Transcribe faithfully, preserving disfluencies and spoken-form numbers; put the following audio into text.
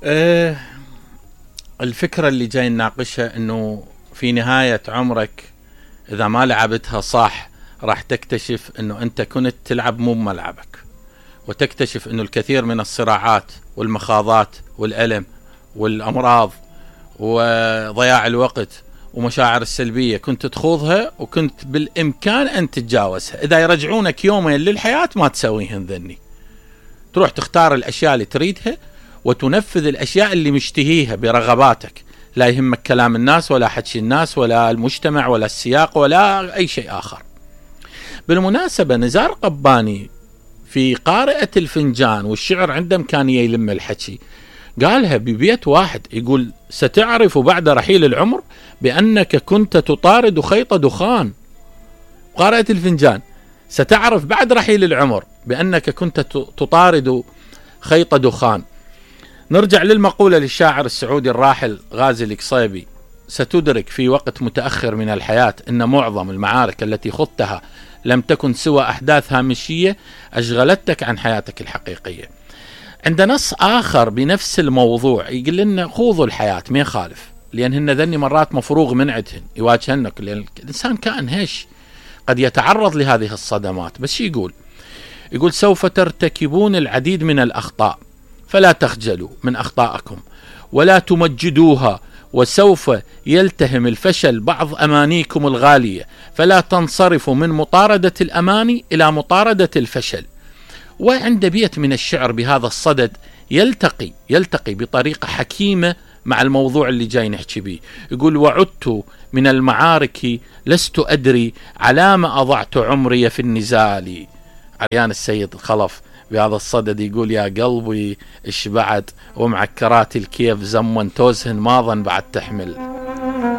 أه الفكرة اللي جاي نناقشها انه في نهاية عمرك اذا ما لعبتها صح راح تكتشف انه انت كنت تلعب مو بملعبك، وتكتشف انه الكثير من الصراعات والمخاضات والألم والامراض وضياع الوقت ومشاعر السلبية كنت تخوضها وكنت بالامكان ان تتجاوزها. اذا يرجعونك يومين للحياة ما تسويهن ذني، تروح تختار الاشياء اللي تريدها وتنفذ الاشياء اللي مشتهيها برغباتك، لا يهمك كلام الناس ولا حكي الناس ولا المجتمع ولا السياق ولا اي شيء اخر. بالمناسبة نزار قباني في قارئة الفنجان والشعر عنده امكانية يلم الحكي، قالها ببيت واحد، يقول: ستعرف بعد رحيل العمر بأنك كنت تطارد خيط دخان. قارئة الفنجان: ستعرف بعد رحيل العمر بأنك كنت تطارد خيط دخان. نرجع للمقولة للشاعر السعودي الراحل غازي القصيبي: ستدرك في وقت متأخر من الحياة أن معظم المعارك التي خضتها لم تكن سوى أحداث هامشية أشغلتك عن حياتك الحقيقية. عند نص آخر بنفس الموضوع يقول لنا: خوضوا الحياة ما يخالف، لأن هن ذني مرات مفروغ من عدهن يواجهنك، لأن الإنسان كائن هش قد يتعرض لهذه الصدمات. بس يقول يقول سوف ترتكبون العديد من الأخطاء، فلا تخجلوا من أخطائكم ولا تمجدوها، وسوف يلتهم الفشل بعض أمانيكم الغالية، فلا تنصرفوا من مطاردة الأماني إلى مطاردة الفشل. وعند بيت من الشعر بهذا الصدد يلتقي يلتقي بطريقة حكيمة مع الموضوع اللي جاي نحكي به. يقول: وعدت من المعارك لست أدري على ما أضعت عمري في النزال. عريان السيد الخلف بهذا الصدد يقول: يا قلبي اشبعت ومعكرات الكيف زمن توزهن ما ظن بعد تحمل.